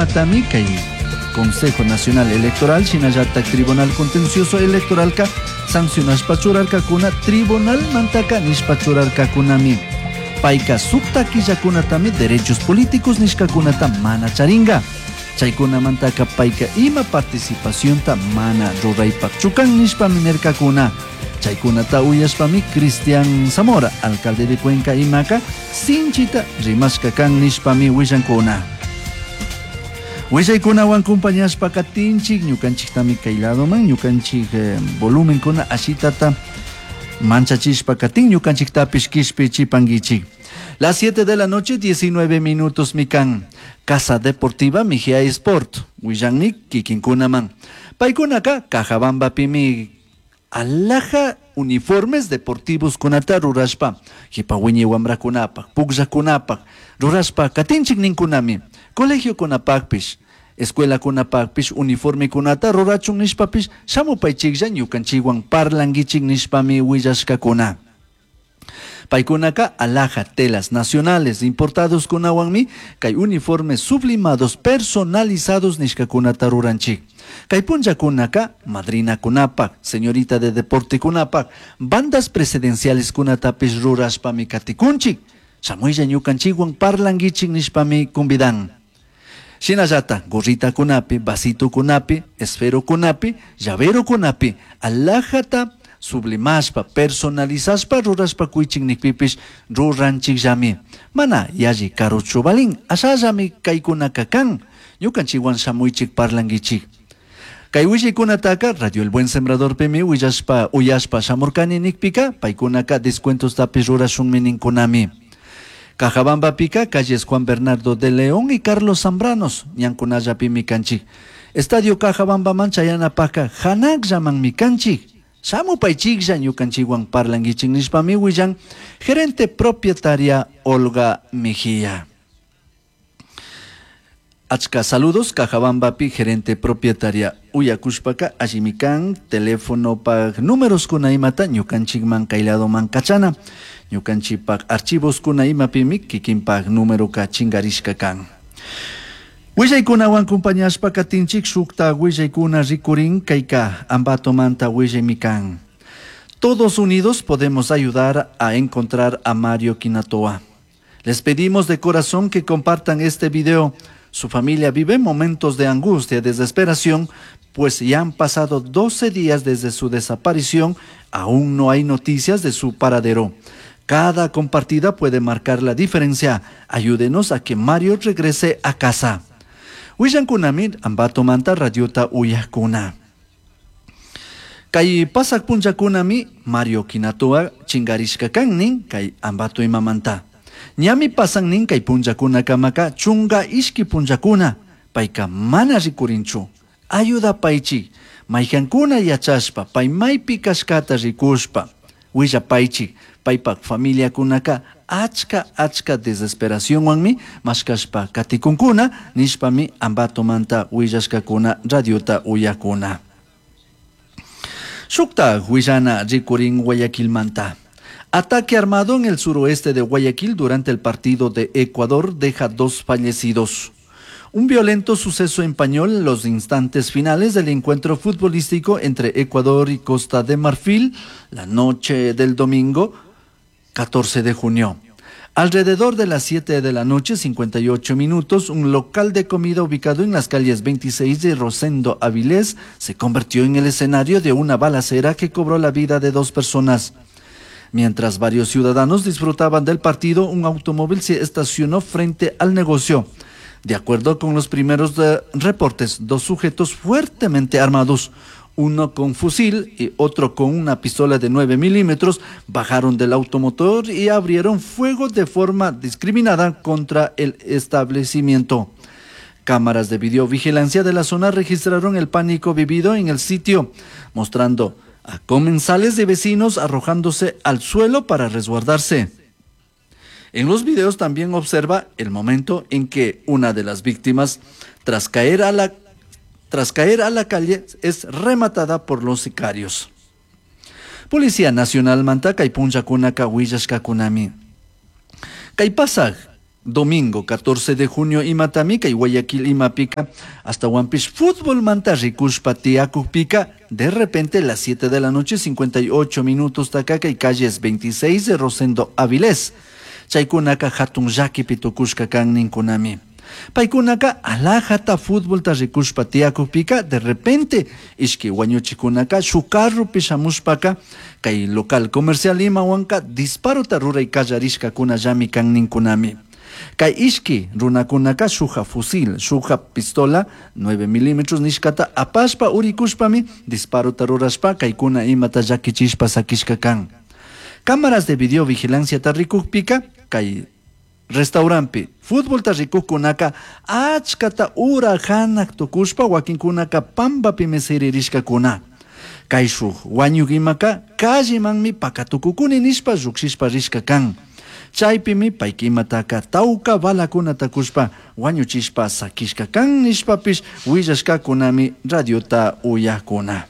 Chaykamatami kay Consejo Nacional Electoral shinallatak Tribunal Contencioso Electoralka sancionashpa churarkakuna Tribunal mantaka nishpa churarkakunami. Payka sukta killakunatami derechos políticos nishkakunata mana charinka. Chaykunamantaka payka ima participacionta mana ruraypakchu kan nishpami nirkakuna. Chaykunata uyashpami Cristian Zamora, alcalde de Cuenca imaka, sinchita rimashka kan nishpami willankuna. Willaykunawan compañashpa katinchik, ñukanchiktami kay ladoman, ñukanchik volumenkuna ashitata manchachishpa katin, ñukanchiktapish kishpichipankichik. Las 7 de la noche, 19 minutos mikan. Casa Deportiva Mejía Sport, willanmi kikinkunaman. Paykunaka Cajabambapimi alhaja uniformes deportivos kunata rurashpa, jipa wiñay wamrakunapak, pukllakunapak, rurashpa katinchik ninkunami, colegio kunapakpish, escuela kunapakpish uniforme kunata rurachun nishpapish, shamupaychiklla ñukanchikwan parlankichik nishpami willashkakuna. Paykunaka alhaja telas nacionales importados kunawanmi kay uniformes sublimados personalizados nishkakunata ruranchik. Kay punllakunaka madrinakunapak, señorita de deporte kunapak, bandas presidenciales kunatapish rurashpami katikunchik. Shamuylla ñukanchikwan parlankichik nishpami convidan. Shinallata gorritakunapi, vasitokunapi, esferokunapi, llaverokunapi, alhajata sublimashpa, personalizashpa rurashpa kuychik nikpipish ruranchikllami. Mana yalli karuchu balin, ashallami kaykunaka kan, ñukanchikwan shamuychik parlankichik. Kay willaykunataka Radio El Buen Sembradorpimi willashpa uyashpa shamurkani nikpika, paykunaka descuentostapish rurashunmi ninkunami. Cajabambapika, calles Juan Bernardo de León y Carlos Zambranos, ñankunallapimi kanchik. Estadio Cajabambaman chayanapaka hanakllamanmi kanchik. Shamupaychiklla ñukanchikwan parlankichik nishpami willan gerente propietaria Olga Mejía. Achka saludos Cajabambapi gerente propietaria uyakushpaka allimi kan teléfono pak números kuna imata ñukanchikman kayladoman kachana ñukanchikpak archivos kuna imapimi kikinpak número ka chingarishka kan. Willaykunawan compañashpa katinchik shukta willaykuna rikurin kayka Ambatomanta willaymi kan. Todos unidos podemos ayudar a encontrar a Mario Quinatoa. Les pedimos de corazón que compartan este video. Su familia vive momentos de angustia y desesperación, pues ya han pasado 12 días desde su desaparición, aún no hay noticias de su paradero. Cada compartida puede marcar la diferencia. Ayúdenos a que Mario regrese a casa. Willankunami Ambatomanta radiota uyakuna. Kay pasak punllakunami Mario Quinatoa chingarishka kan nin kay Ambato imamanta. Ñami pasan nin kay punllakunakamaka chunga ishki punllakuna payka mana rikurinchu. Ayudapaychik maykankuna yachashpa pay maypi kashkata rikushpa willapaychik paypak familiakunaka achka achka desesperacionwanmi mashkashpa katikunkuna nishpami Ambatomanta willashkakuna radiota uyakuna. Shukta willana rikurin Guayaquilmanta. Ataque armado en el suroeste de Guayaquil durante el partido de Ecuador deja 2 fallecidos. Un violento suceso empañó los instantes finales del encuentro futbolístico entre Ecuador y Costa de Marfil la noche del domingo 14 de junio. Alrededor de las 7 de la noche, 58 minutos, un local de comida ubicado en las calles 26 de Rosendo Avilés se convirtió en el escenario de una balacera que cobró la vida de 2 personas. Mientras varios ciudadanos disfrutaban del partido, un automóvil se estacionó frente al negocio. De acuerdo con los primeros reportes, 2 sujetos fuertemente armados, uno con fusil y otro con una pistola de 9 milímetros, bajaron del automotor y abrieron fuego de forma discriminada contra el establecimiento. Cámaras de videovigilancia de la zona registraron el pánico vivido en el sitio, mostrando a comensales de vecinos arrojándose al suelo para resguardarse. En los videos también observa el momento en que una de las víctimas, tras caer a la calle, es rematada por los sicarios. Policía Nacional manta kay punllakunaka willashkakunami. Kay pasaj Domingo 14 de junio imatami kay Guayaquil imapika ashtawanpish futbolmanta rikushpa tiyakukpika de repente las 7 de la noche 58 minutos taka kay calles 26 de Rosendo Avilés chaykunaka hatun llakipi tukushka kan ninkunami. Paykunaka alajata futbolta rikushpa tiyakukpika de repente ishki wañuchikunaka shuk carropi shamushpaka kay local comercial imawanka disparota ruray kallarishkakunallami kan ninkunami. Kay ishki runakunaka shuja fusil, shuja pistola 9 milímetros nishkata apashpa urikushpami disparota rurashpa kaykuna imata llakichishpa sakishka kan. Cámaras de videovigilanciata rikukpika kay restauranpi futbolta rikukkunaka achkata ura hanak tukushpa wakinkunaka pampapimi siririshkakuna. Kay shuk wañuk imaka callemanmi pakatukukuni nishpa llukshishpa rishka kan. Chaypimi payka imataka tawka balakunata kushpa wañuchishpa sakishka kan nishpapish willashkakunami radiota uyakuna.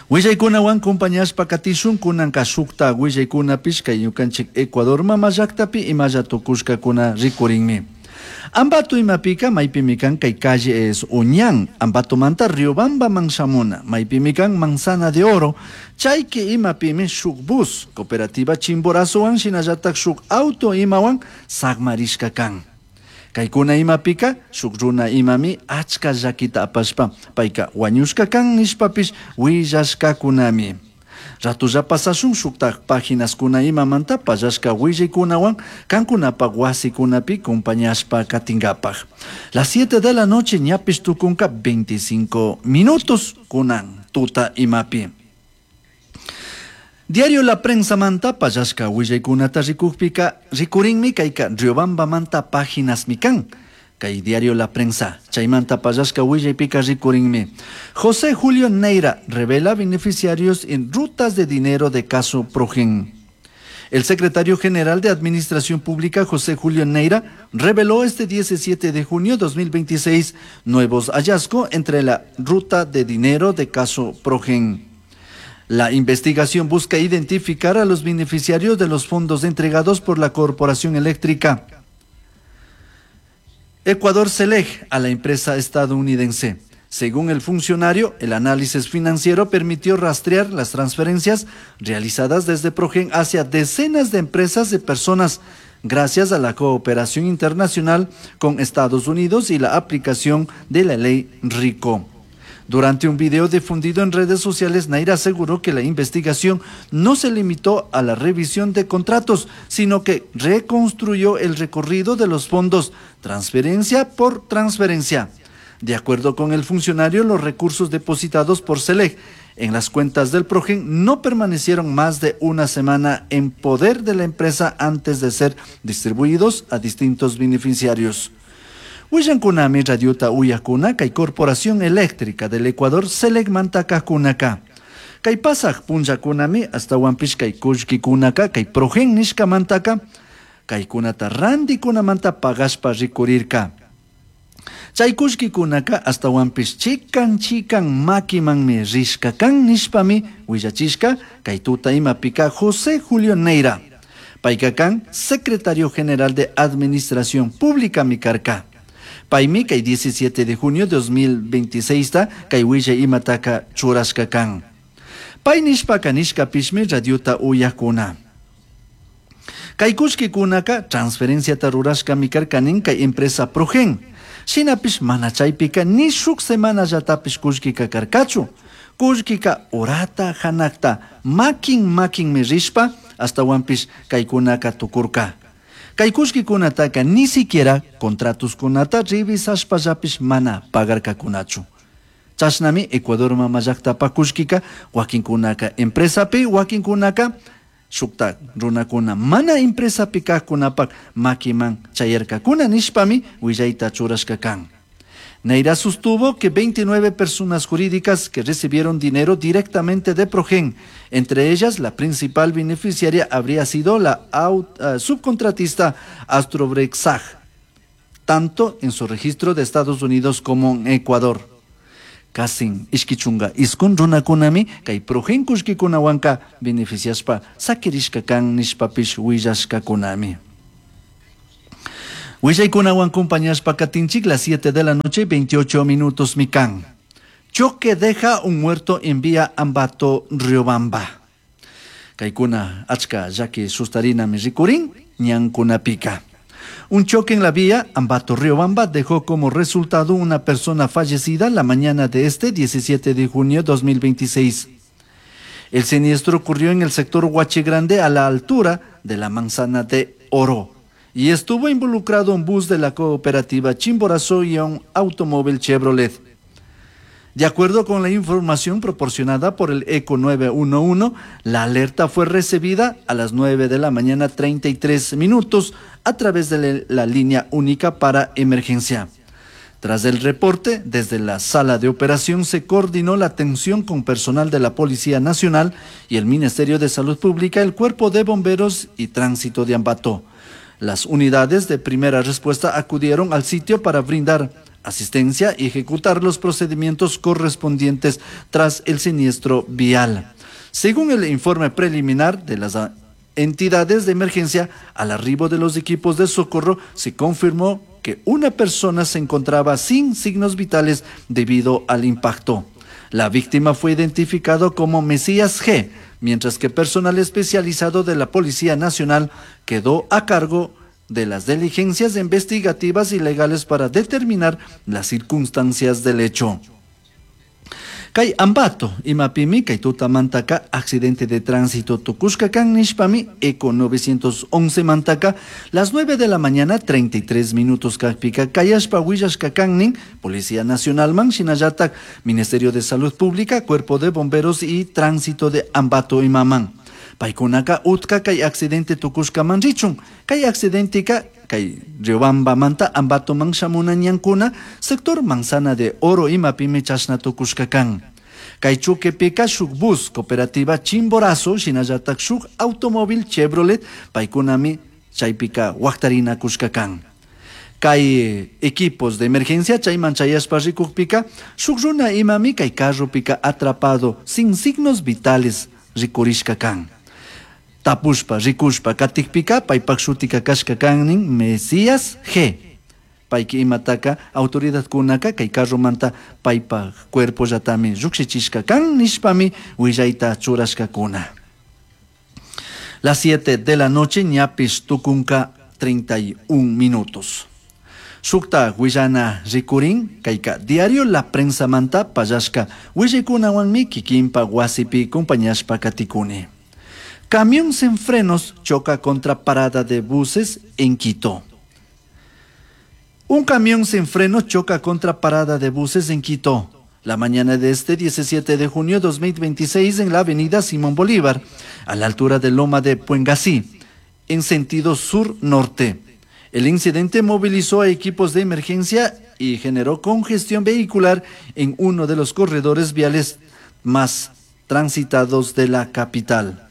Willaykunawan compañashpa katishun kunanka shukta willaykunapish kay ñukanchik Ecuador mama llaktapi imalla tukushkakuna rikurinmi. Ambato imapika maypimi kan kay calle es Uñán, Ambatomanta Riobambaman shamuna, maypimi kan Manzana de Oro, chayki imapimi shuk bus, cooperativa Chimborazowan shinallatak shuk auto imawan sakmarishka kan. Kaykuna imapika shuk runa imami achka llakita apashpa payka wañushka kan nishpapish willashkakunami. Ratulla pasashun shuktak páginaskuna imamanta pallashka willaykunawan kankunapak wasikunapi compañashpa katinkapak. Las 7 de la noche ñapish tukunka 25 minutos kunan tuta imapi. Diario La Prensa manta pallashka willaykunata rikukpika rikurinmi kayka Riobambamanta páginasmi kan. Kay Diario La Prensa, chaymanta pallashka willaypika rikurinmi. José Julio Neira revela beneficiarios en rutas de dinero de caso Progen. El secretario general de Administración Pública, José Julio Neira, reveló este 17 de junio de 2026 nuevos hallazgos entre la ruta de dinero de caso Progen. La investigación busca identificar a los beneficiarios de los fondos entregados por la Corporación Eléctrica Ecuador Celeg a la empresa estadounidense. Según el funcionario, el análisis financiero permitió rastrear las transferencias realizadas desde Progen hacia decenas de empresas y personas gracias a la cooperación internacional con Estados Unidos y la aplicación de la ley RICO. Durante un video difundido en redes sociales, Neira aseguró que la investigación no se limitó a la revisión de contratos, sino que reconstruyó el recorrido de los fondos, transferencia por transferencia. De acuerdo con el funcionario, los recursos depositados por Celeg en las cuentas del Progen no permanecieron más de una semana en poder de la empresa antes de ser distribuidos a distintos beneficiarios. Willankunami radiota uyakuna kay Corporación Eléctrica del Ecuador Celeg mantaka kunaka. Kay pasaj punllakunami ashtawanpish kay kullkikunaka kay Progen nishkamantaka kaykunata randikunamanta pagashpa rikurirka. Chay kullkikunaka ashtawanpish chikan chikan makimanmi rishka kan nishpami willachishka kay tuta imapika José Julio Neira. Payka kan secretario general de Administración Pública mi karka. Paymi kay 17 de junio de 2026 ta kay willay imataka churashka kan. Pay nishpaka nishkapishmi radiota uyakuna. Kay kullkikunaka transferenciata rurashkami karkanin kay empresa Progen. Shinapish mana chaypika ni shuk semanallatapish kullkika karkachu. Kullkika urata hanakta makin makinmi rishpa ashtawanpish kaykunaka tukurka. Kay kullkikunataka ni siquiera contratoskunata revisashpallapish mana pagarkakunachu. Chashnami Ecuador mama llaktapa kullkika wakinkunaka empresapi wakinkunaka shuktak runakuna mana empresapi kajkunapak makiman chayarkakuna nishpami willayta churashka kan. Neira sostuvo que 29 personas jurídicas que recibieron dinero directamente de Progen, entre ellas la principal beneficiaria habría sido la subcontratista Astrobrex SAG, tanto en su registro de Estados Unidos como en Ecuador. Kasin ishkichunga iskun runakunami kay Progen kullkikunawanka beneficiashpa sakirishka kan nishpapish willashkakunami. Willaykunawan compañashpa katinchik las 7 de la noche 28 minutos mikan. Choque deja un muerto en vía Ambato Riobamba. Kaykuna achka llaki sustarinami rikurin ñankunapika. Un choque en la vía Ambato Riobamba dejó como resultado una persona fallecida la mañana de este 17 de junio 2026. El siniestro ocurrió en el sector Huachi Grande a la altura de la Manzana de Oro y estuvo involucrado un bus de la cooperativa Chimborazo y un automóvil Chevrolet. De acuerdo con la información proporcionada por el ECO 911, la alerta fue recibida a las 9 de la mañana 33 minutos a través de la línea única para emergencia. Tras el reporte, desde la sala de operación se coordinó la atención con personal de la Policía Nacional y el Ministerio de Salud Pública, el Cuerpo de Bomberos y Tránsito de Ambato. Las unidades de primera respuesta acudieron al sitio para brindar asistencia y ejecutar los procedimientos correspondientes tras el siniestro vial. Según el informe preliminar de las entidades de emergencia, al arribo de los equipos de socorro se confirmó que una persona se encontraba sin signos vitales debido al impacto. La víctima fue identificado como Mesías G, mientras que personal especializado de la Policía Nacional quedó a cargo de las diligencias investigativas y legales para determinar las circunstancias del hecho. Kay Ambato, imapimi, kay tutamantaka, accidente de tránsito tukushka kan nishpami, Eco 911 mantaka, las 9 de la mañana 33 minutos kakpika, kayashpa willashka kannin, Policía Nacional man, shinallatak, Ministerio de Salud Pública, Cuerpo de Bomberos y Tránsito de Ambato imaman. Paykunaka utka kay accidente tukushkaman richun, kay accidentika kay Riobamba manta Ambato man shamuna ñankuna, sector Manzana de Oro imapimi chashna tukushka kan. Kay choquepika shuk bus cooperativa Chimborazo, shinallatak shuk automóvil Chevrolet, paykunami chaypika waktarina kushka kan. Kay equipos de emergencia chayman chayashpa rikukpika, shuk runa imami kay carropika atrapado sin signos vitales rikurishka kan. Tapushpa, rikushpa, katikpika, paypak shutika kashka kannin Mesías G. Payki imataka autoridad kunaka kay carromanta paypak cuerpo llatami llukshichishka kan nishpami willayta churashkakuna. Las 7 de la noche ñapish tukunka 31 minutos. Shukta willana rikurin kayka diario La Prensa manta pallashka willaykunawanmi kikinpa wasipi compañashpa katikuni. Camión sin frenos choca contra parada de buses en Quito. Un camión sin frenos choca contra parada de buses en Quito. La mañana de este 17 de junio de 2026 en la avenida Simón Bolívar, a la altura de Loma de Puengasí, en sentido sur-norte. El incidente movilizó a equipos de emergencia y generó congestión vehicular en uno de los corredores viales más transitados de la capital.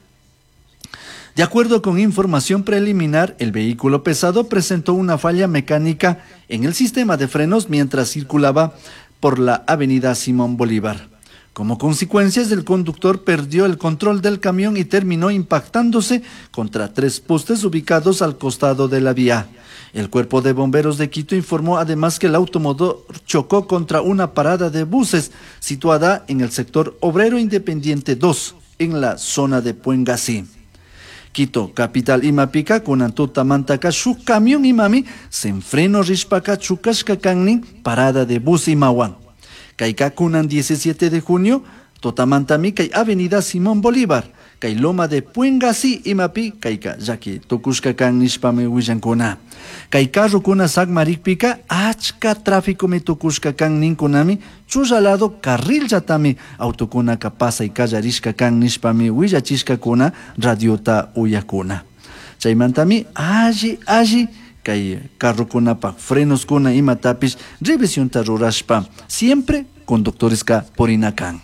De acuerdo con información preliminar, el vehículo pesado presentó una falla mecánica en el sistema de frenos mientras circulaba por la avenida Simón Bolívar. Como consecuencia, el conductor perdió el control del camión y terminó impactándose contra 3 postes ubicados al costado de la vía. El cuerpo de bomberos de Quito informó además que el automotor chocó contra una parada de buses situada en el sector Obrero Independiente 2, en la zona de Puengasí. Quito, capital imapika, kunan tutamantaka shuk camión imami, sen freno rishpaka chukashka kannin, parada de bus imawan. Kayka kunan 17 de junio, totamantami kay avenida Simón Bolívar, kay Loma de Puengasí imapi, kayka llaki tukushka kan nishpami willankuna. Kay carrokuna sakmarikpika, achka tráfico mi tukushka kan ninkunami, chullalado carril llatami autokunaka pasay kallarishka kan nishpami willachishkakuna radiota uyakuna. Chaymantami alli alli kay carrokunapa frenoskuna imatapish revisionta rurashpa siempre conductoreska purinakan.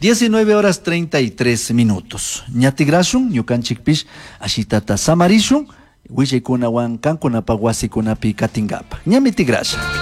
19 horas 33 minutos. Ñatigrashun, ñukanchikpish, ashitata samarishun, willaykunawan kankunapa wasikunapi katingapa. Ñami tigrasha.